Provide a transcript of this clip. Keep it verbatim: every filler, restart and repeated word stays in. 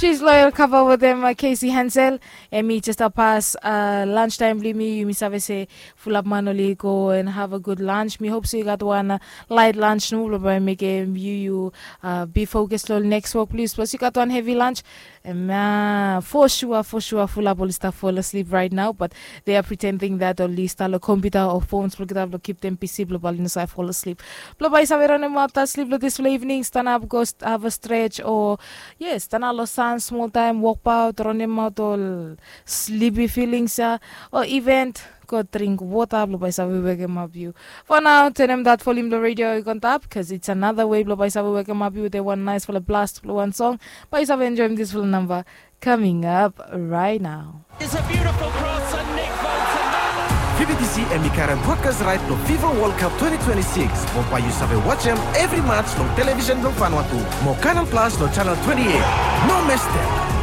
Jis loyal kava wetem Casey Hansel. Em i jes a pas lunch taim blong yumi. Yumi save se fulap man oli go and have a good lunch. Mi hope se yu gat wan light lunch nomo blong bai mekim yu yu be focus long next work please. Plus yu gat wan heavy lunch. Em, for sure, for sure fulap oli stap fall asleep right now, but they are pretending that oli stap long computer o phones blong getap long keep them busy blong bai oli no save fall asleep. Blong bai yu save ranem ap that sleep long dispela evening, stanap go have a stretch o yes, stanap long sun small time, walk out, ranem out ol sleepy feelings ya, o event go drink water blong bai save wekem ap yu. For now, turn em that volume long radio i on top, cause it's another way blong bai save wekem ap yu with a one nice fala blast blong one song. Bai save enjoy this fala number coming up right now. It's a beautiful cross and Nick Bolton. Fifty C M E current broadcast right to FIFA World Cup twenty twenty-six. Mo bai yu save watch em every match long television long Vanuatu. Mo Canal Plus long channel twenty-eight. No mistake.